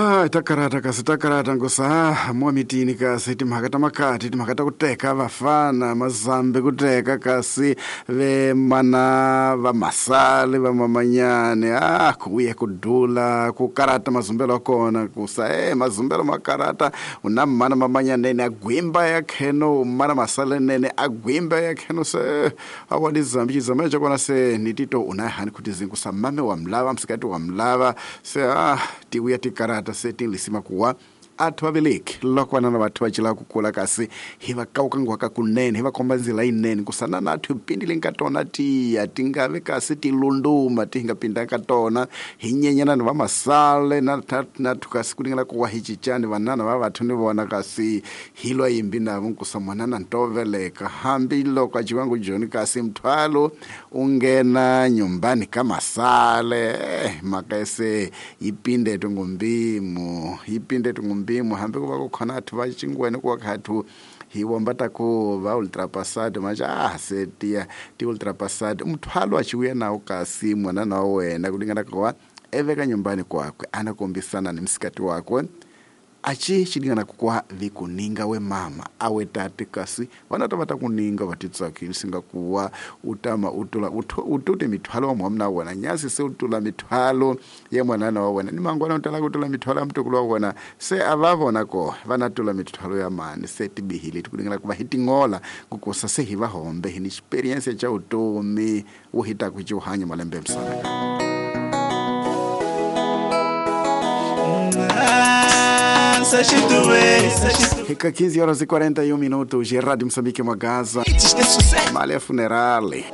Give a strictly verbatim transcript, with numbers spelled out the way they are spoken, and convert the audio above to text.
Ah, takarata kasi takarata nkosa mwa mitini kasi timhaka ta makati timhaka ta ku teka vafana mazambe ku teka kasi ve mana va masale va mamanyane ah kuya ku dula ku karata mazumbelo kona kusa eh mazumbelo makarata una mana mamanyane ne agwimba ya kheno mana masale nene agwimba ya kheno se awali zambi zambi kona se nitito una hani kuti zingusa mame wa mlava msikati wa mlava se ah tiuya tikarata seti lisima kuwa athu aveleki lokwana na vathu va cila kukula kasi hi va kawukangwa ka kunene hi va komba ndzila yinene kusana na athu pindile ka tona tiya ti nga ve kasi ti lunduma ti nga pinda ka tona hi nyenyana ni va masale na na thu kasi ku lingana kuwa hi cincani vanana va vathu ni vona kasi hi lwa yimbi na vo nkusa mwanana ntoveleka hambi loko a ciwangu joni kasi mthwalo u nghena nyumbani ka masale mhaka se yi pinde tungumbimo yi pinde tungumbimo hambi ku va ku khona athu va cingweni ku va khathu hi vomba ta ku va ultrapassado manje ah se tiya ti ultrapassado mthwalo a ciuya nawo kasi mwanana wa wena ku lingana kuwa eveka nyumbani kwakwe anakombisana ni msikati wakwe achi chilingana kukwa vikuninga we mama awe tate kasi vana ta va ta kuninga va titsakile singa kuwa utama utula utute mithwalo wa mwamna wena nyasi se utula mithwalo ya mwanana wa wena ni mangwana utala kutula mithwalo ya mtukulu wa wena se ava vona ko vana tula mithwalo ya mani se tibihile tikulingana kuva hi tingola kukosa se hi va hombe hi ni experience cha utomi wo hita ku hanya malembe msana. Fica quinze horas e quarenta e um minutos, Rádio Moçambique, uma casa. Malha funeral.